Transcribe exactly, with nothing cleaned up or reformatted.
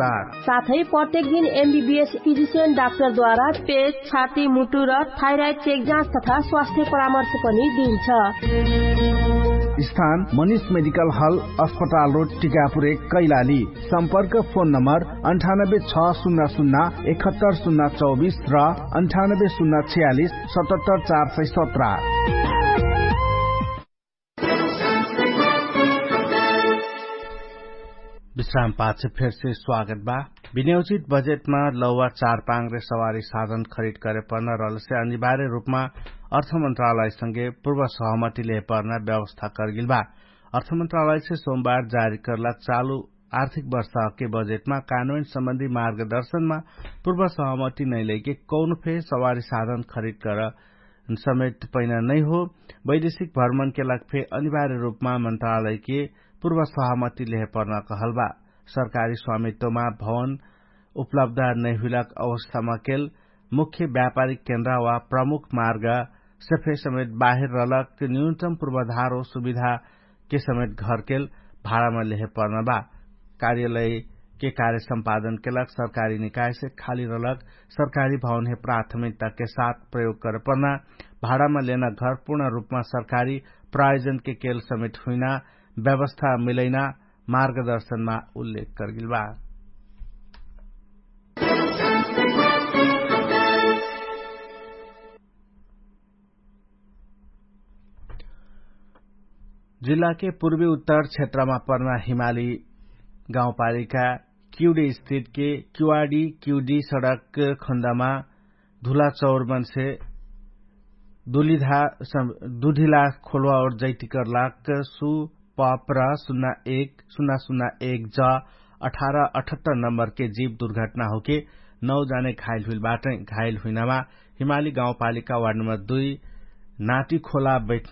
साथै प्रत्येक दिन एमबीबीएस फिजिसियन डाक्टरद्वारा पेट, छाती, मुटु र थाइराइड चेक जाँच तथा स्वास्थ्य परामर्श पनि दिइन्छ। स्थान मनिष मेडिकल हल, अस्पताल रोड, टिकापुर एक, कैलाली। सम्पर्क फोन नम्बर अन्ठानब्बे छ शून्य शून्य एकहत्तर शून्य चौबिस र अन्ठानब्बे शून्य छयालिस सतहत्तर चार सय सत्र। विश्राम पाछ फेरसे स्वागत बा। विनियोजित बजेटमा लौवा चारपाङ्ग्रे सवारी साधन खरिद करे पर्ना रहलसे अनिवार्य रूपमा अर्थ मन्त्रालयसँगे पूर्व सहमति लेहे पर्ना व्यवस्था करगेल बा। अर्थ मन्त्रालयसे सोमबार जारी करला चालु आर्थिक वर्षके बजेटमा कानुन सम्बन्धी मार्गदर्शनमा पूर्व सहमति नैलैके कौन फे सवारी साधन खरिद कर समेत पैना नैहो। वैदेशिक भ्रमणके लाग फे अनिवार्य रूपमा मन्त्रालयके पूर्व सहमति लेहे पर्ना कहल बा। सरकारी स्वामित्वमा भवन उपलब्ध नैहुइलाक अवस्थामा केल मुख्य व्यापारिक केन्द्र वा प्रमुख मार्ग सेफे समेत बाहिर रहलक न्यूनतम पूर्वाधार वा सुविधाके समेत घरकेल भाडामा लेहे पर्ना बा। कार्यालयके कार्य सम्पादनके लाग सरकारी निकायसे खाली रहलक सरकारी भवनहे प्राथमिकताके साथ प्रयोग करे पर्ना भाडामा लेना घर पूर्ण रूपमा सरकारी प्रायोजनके केल समेत हुइना व्यवस्था मिलैना मार्गदर्शनमा उल्लेख करगेल बा। जिल्लाके पूर्वी उत्तर क्षेत्रमा पर्ना हिमाली गाउँपालिका क्युडी स्थितके क्युवाडी क्युडी सडक खण्डमा धुला चौरमनसे दुलिधा दुधिला खोलवा ओर जैतिकर लाग सु पप र सुन्ना एक सुन्ना सुन्ना एक ज अठार अठहत्तर नम्बरके जीव दुर्घटना होके नौ जाने घाइल हुइल बाटै। घाइल हुइनामा हिमाली गाउँपालिका वार्ड नम्बर दुई नाटी खोला बैठना